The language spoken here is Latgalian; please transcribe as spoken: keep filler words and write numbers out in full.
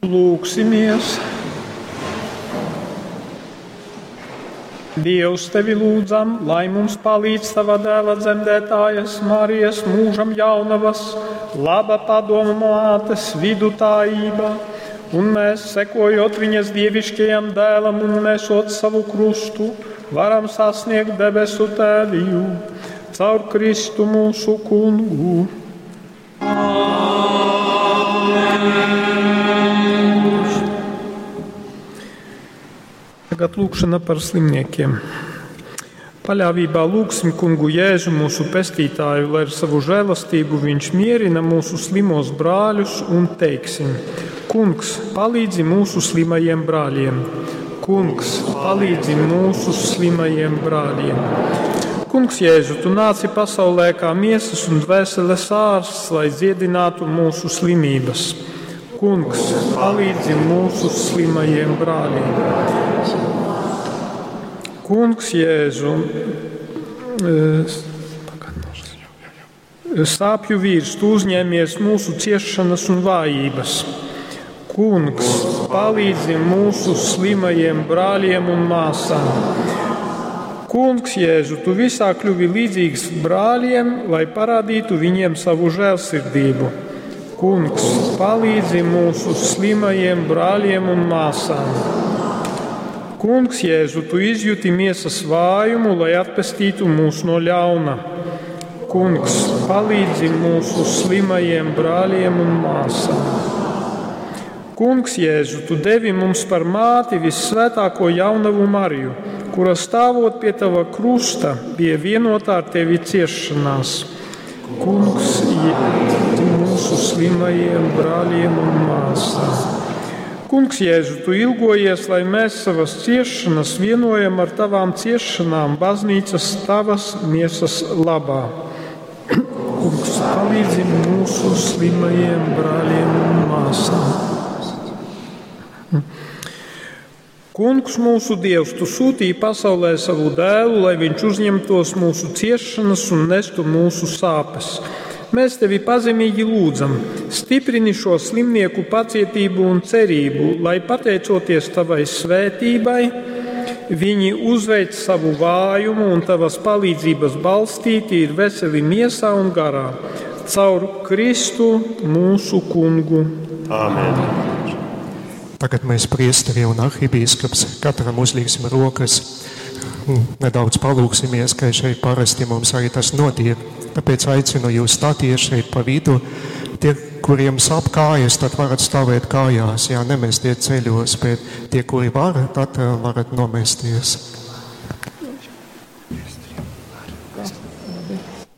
Lūgsimies! Dievs, tevi lūdzam, lai mums palīdz tava dēla dzemdētājas Marijas mūžam jaunavas, laba padoma mātes vidutājība, un mēs, sekojot viņas dievišķajam dēlam un nesot savu krustu, varam sasniegt debesu tēviju caur Kristu mūsu kungu. Tagad lūkšana par slimniekiem. Paļāvībā lūgsim kungu Jēzu, mūsu pestītāju, lai ar savu žēlastību viņš mierina mūsu slimos brāļus un teiksim: Kungs, palīdzi mūsu slimajiem brāļiem! Kungs, palīdzi mūsu slimajiem brāļiem! Kungs Jēzu, tu nāci pasaulē kā miesas un dvēseles ārsts, lai dziedinātu mūsu slimības. Kungs, palīdzi mūsu slimajiem brāļiem! Kungs Jēzu, sāpju vīrs, tu uzņēmies mūsu ciešanas un vājības. Kungs, palīdzi mūsu slimajiem brāļiem un māsām. Kungs Jēzu, tu visā kļuvi līdzīgs brāļiem, lai parādītu viņiem savu žēlsirdību. Kungs, palīdzi mūsu slimajiem brāļiem un māsām. Kungs Jēzu, tu izjuti miesas vājumu, lai atpestītu mūs no ļauna. Kungs, palīdzi mūsu slimajiem brāļiem un māsām. Kungs Jēzu, tu devi mums par māti vissvētāko jaunavu Mariju, kura stāvot pie tava krusta bija vienotā ar tevi ciešanās. Kungs, Jēzu, mūsu slimajiem brāļiem un māsām. Kungs Jēzu, tu ilgojies, lai mēs savas ciešanas vienojam ar tavām ciešanām baznīcas tavas miesas labā. Kungs, palīdzi mūsu slimajiem brāļiem un māsām. Kungs, mūsu Dievs, tu sūtīji pasaulē savu dēlu, lai viņš uzņemtos mūsu ciešanas un nestu mūsu sāpes. Mēs tevi pazemīgi lūdzam, stiprini šo slimnieku pacietību un cerību, lai pateicoties tavai svētībai, viņi uzveic savu vājumu un tavas palīdzības balstīti ir veseli miesā un garā. Caur Kristu mūsu kungu. Āmen. Tagad mēs priesteri un arhibīskaps katram uzliksim rokas. Nedaudz palūksimies, ka šeit parasti mums arī tas notiek. Tāpēc aicinu jūs stāties šeit pa vidu. Tie, kuriem sāp kājas, tad varat stāvēt kājās, jā, nemestiet ceļos, bet tie, kuri var, tad varat nomesties.